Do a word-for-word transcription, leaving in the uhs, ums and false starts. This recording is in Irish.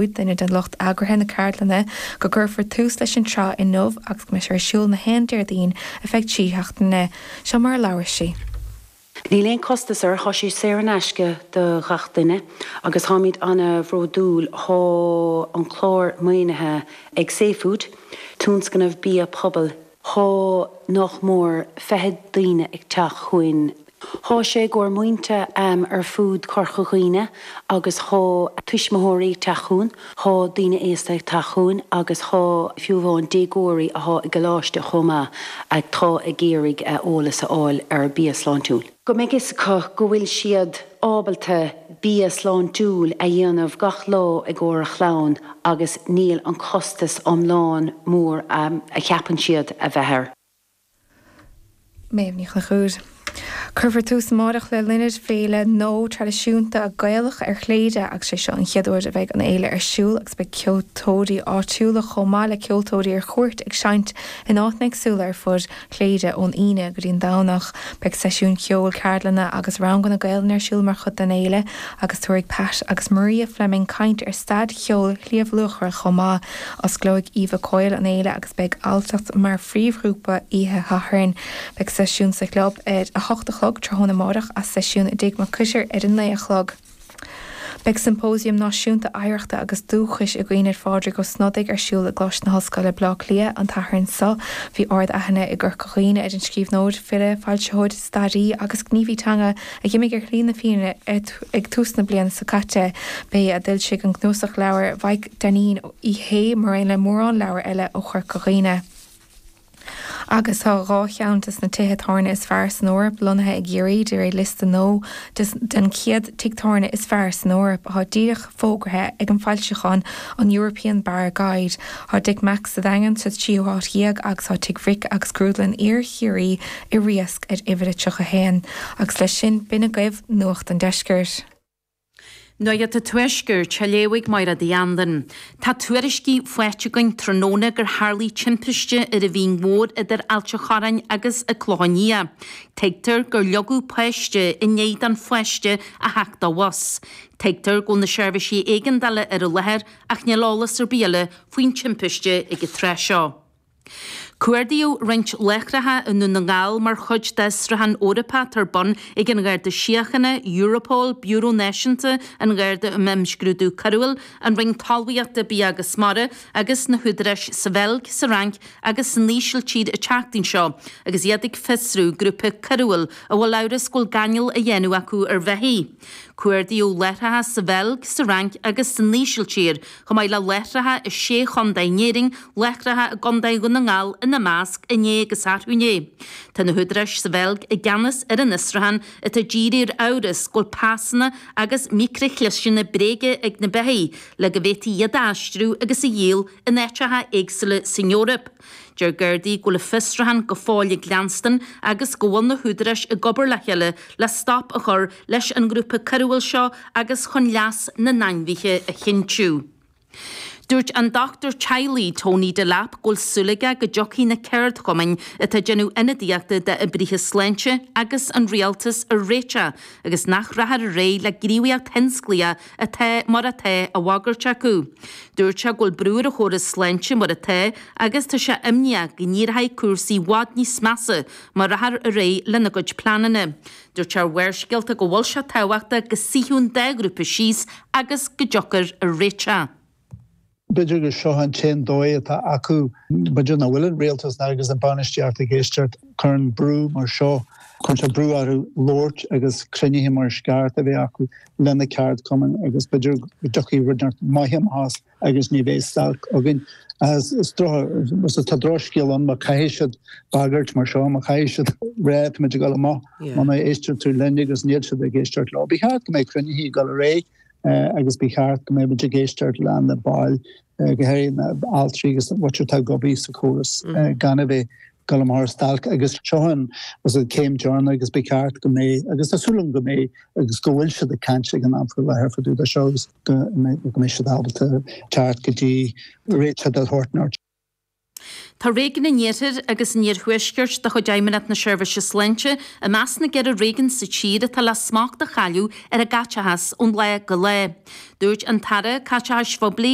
duine den lucht eagraithe na ceardlainne, go gcuirfear tús leis an tsraith inniu agus go mbeidh sé ar siúl na haon Déardaoin ar feadh trí seachtaine. Seo mar a labhair sí. Níl aon costas air, tá sé saor in aisce do ghach duine agus táimid an-bhródúil tá an clár maoinithe ag safefood, tionscnamh bia pobail Tá nach mór fiche daoine ag teacht chugainn. Tá sé i gcomhair muintir ar fud Chorca Dhuibhne agus tá tuismitheoirí ag teacht chugainn, tá daoine aosta ag teacht chugainn agus tá fiú amháin déagóirí atá i gcoláiste chomh maith atá ag iarraidh eolas a fháil ar bia sláintiúil. Go mbeidh fhios acu go bhfuil siad ábalta bia sláintiúil a dhéanamh gach lá i gcomhair a chlann agus níl an costas iomlán mór a cheapann siad a bheith air. Méabh Ní Chonchúir. Cuirfear tús amárach le Leinid féile nó traidisiúnta Gaelach ar Chléire agus sé seo an chéad uair a bheidh an fhéile ar siúl agus beidh ceoltóirí áitiúla chomh maith le ceoltóirí ar cuairt ag seinnt in áiteanna éagsúla ar fud Chléire ón Aoine go dtí an Domhnach. Beidh seisiúin cheoil, ceardlanna agus ranganna Gaelainne ar siúl mar chuid den fhéile agus tabharfaidh Pat agus Maria Fleming caint ar staid cheol Shliabh Luachra chomh maith. Osclóidh Eva Coyle an fhéile agus beidh Alltacht mar phríomhghrúpa oíche Shathairn. Beidh seisiún sa chlub ar a hocht a chlog tráthnóna amárach agus seisiún i dTigh Mac Coitir ar a naoi a chlog. Beidh Symposium Náisiúnta Oidhreachta agus Dúchais i gcuimhne ar Phádraig Ó Snodaigh ar siúl i gColáiste na hOllscoile Baile Átha Cliath an tSathairn seo. Bhí ard-aithne i gCorca Dhuibhne ar an scríbhneoir, file, foilsitheoir, staraí agus gníomhaí teanga a d'imigh ar shlí na fírinne ag tús na bliana seo caite. B'é a d'fhoilsigh an cnuasach leabhar Mhaidhc Dainín Uí Shé mar aon le mórán leabhar eile ó Chorca Dhuibhne. Agus tá dhá cheann de na tithe tábhairne is fearr san Eoraip lonnaithe i gCiarraí de réir liosta nua den chéad tigh tábhairne is fearr san Eoraip atá díreach fógartha ag an bhfoilseachán an European Bar Guide. Tá Dick Mack's sa Daingean sa tríú háit dhéag agus tá Tigh Bhric agus Grúdlann Iar-Chiarraí i Riasc ar uimhir a tríocha haon. Agus leis sin b'in agaibh Nuacht an Deiscirt. Nuacht an Tuaiscirt, á léamh ag Máire Uí Andain. Tá tuairiscí faighte againn tráthnóna gur tharlaigh timpiste ar an Mhín Mhór idir Ailt an Chorráin agus an Clochán Liath. Tuigtear gur leagadh páiste i ndiaidh don pháiste a theacht de bhus. Tuigtear go bhfuil na seirbhísí éigeandála ar an láthair ach níl eolas ar bith eile faoin timpiste ag an tráth seo. Cuardaíodh roinnt láithreacha i nDún na nGall mar chuid d'fhiosrúchán Eorpach atá ar bun ag an Gharda Síochána, Europol, Biúró Náisiúnta an Gharda um Imscrúdú Coiriúil, an Roinn Talmhaíochta, Bia agus Mara agus na húdaráis sa Bheilg, sa Fhrainc agus san Ísiltír an tseachtain seo agus iad ag fiosrú grúpa coiriúil a bhfuil amhras go bhfuil gáinneáil á dhéanamh acu ar bheithígh. Cuardaíodh láithreacha sa Bheilg, sa Fhrainc agus san Ísiltír, chomh maith le láithreacha i sé chontae in Éirinn, láithreacha i gContae Dhún na nGall ina measc, inné agus arú inné. Tá na húdaráis sa Bheilg i gceannas ar an fhiosrúchán atá dírithe ar amhras go bhfuil pasanna agus micrishliseanna bréige ag na beithígh le go bhféadfaí iad a aistriú agus a dhíol in áiteacha éagsúla san Eoraip. Deir Gardaí go bhfuil an fiosrúchán go fóill ag leanstan agus go bhfuil na húdaráis ag obair le chéile le stop a chur leis an ngrúpa coiriúil seo agus chun leas na n-ainmhithe a chinntiú. Dúirt an dochtúir teaghlaigh Tony Delap go bhfuil súil aige go dtiocfaidh na ceardchumainn atá ag déanamh ionadaíochta d'oibrithe sláinte agus an rialtas ar réiteach agus nach rachfar ar aghaidh le gníomhaíocht thionsclaíoch atá mar atá á bhagairt acu. Dúirt sé go bhfuil brú ar an chóras sláinte mar atá agus tá sé imníoch go n-éireoidh cúrsaí i bhfad níos measa má rachfar ar aghaidh lena gcuid pleananna. Dúirt sé ar Bharrscéalta go bhfuil sé tábhachtach go suífeadh an dá ghrúpa síos agus go dtiocfar ar réiteach. B'fhéidir gur seo an t-aon dóigh atá acu, b'fhéidir nach bhfuil an rialtas agus an bainistíocht ag éisteacht, cuireann brú mar seo, cuireann sé brú orthu labhairt agus cruinnithe mar is ceart a bheith acu le na ceardchumainn agus b'fhéidir go dtiocfaidh rud maith amach as agus ní bheidh stailc againn. Is tá drochscéal ann má caithfidh siad bagairt mar seo, má chaithfidh siad rá táimid ag dul amach muna éistear tú linn agus níl siad ag éisteacht leo. Ba cheart go mbeidh cruinnithe ag dul ar aghaidh agus ba cheart go mbeidh muid ag éisteacht le na baill, go háirithe na altraí agus muintir atá ag obair sa chóras gan a bheith ag dul amach ar stailc agus seo an céim deireanach agus ba cheart go mbeidh agus tá súil agam go mbeidh agus go bhfuil siad ag caint ag an am faoi láthair fá dtaobh de seo agus go mbeidh siad ábalta teacht go dtí réiteach de shórt. Tá Réigiún an Iarthair agus an Iarthuaiscirt de chuid Fheidhmeannacht na Seirbhíse Sláinte i measc na gceithre réigiún sa tír atá le smacht a chailleadh ar a gcaiteachas ón lá go lá. Dúirt an tAire Caiteachais Phoiblí